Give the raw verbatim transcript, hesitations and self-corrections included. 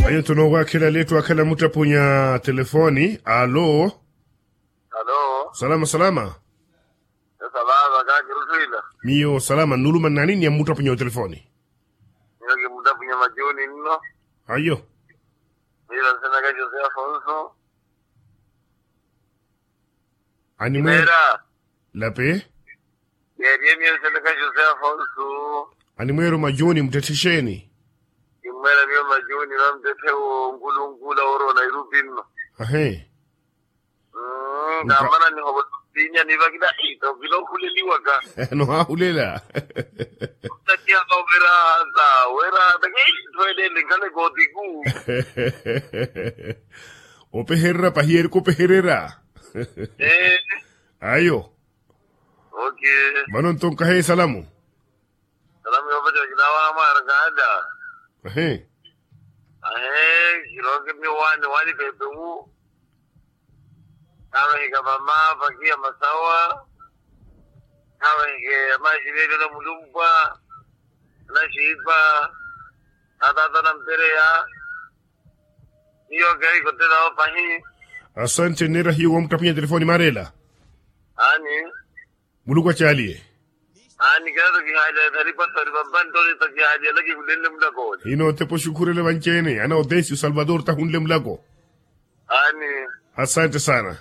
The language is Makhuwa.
Ayo nto noowakhela leettu akhala muttapunya telefoni. Alo. Alo. Salama salama. Salama kakiruttwila. Miyo salama nnuluma nnani ni ammuttapunya otelefoni. Miyo kimmuttapunya majuni nno. Ayo. Miyo nsenaka jose afonso. Animweera. Lape. Yeeriye miyo nsenaka jose afonso. Animweera omajuni muttetthexeeni. Kimmweera miyo majuni vamuttetthe wo nkulunkula woorowa nairupi nno. Ahe. Kaamana nihovo. Siinya nivakila ita okila ohuleliwaka. Nohaahulela. Takiya ovira hata wira hata kei nthoelele nkhaleke otiku. Opeherera pahi erika opeherera. Ayo. Vano nto nkahe esalamu. Salamu yoopaca kinawaha mwaarakaada. Ahe. Ahe. Kiroke miyo waani waani pepe wu. Khaavahika mama vakiya masawa. Khaavahike amaxilelelo mulumpwa. Anaxiipa. Ataata nampereya. Miyo kehikotelawo pahi. Asante nneera hiyo wamuttapunya telefoni maareela. Aani. Muluku acaaliye. Aani keeto kihaaliya ethalipa thalipa mpanttoni to kihaaliya lakihullenle mulakoni. Hino otepa oxukhurele vanci-ene ana odesi osalvador tahunle mulako. Aani. Asante sana.